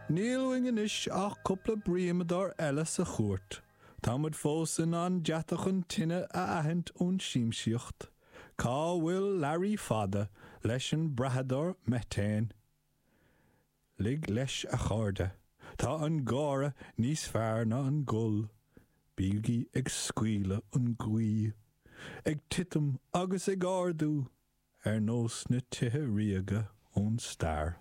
Níl uainn anois ach cúpla bríomadóir eile sa chúirt. Tá muid fós in ann deatach an tine a aithint ón siamsaíocht. Cá bhfuil Learaí Fada leis an brathadóir meiteáin? Lig leis a chairde. Tá an gáire níos fearr ná an gol. Bígí ag scaoileadh an ghaoth. Ag titim agus ag ardú ar nós na tithe ríoga ón stair.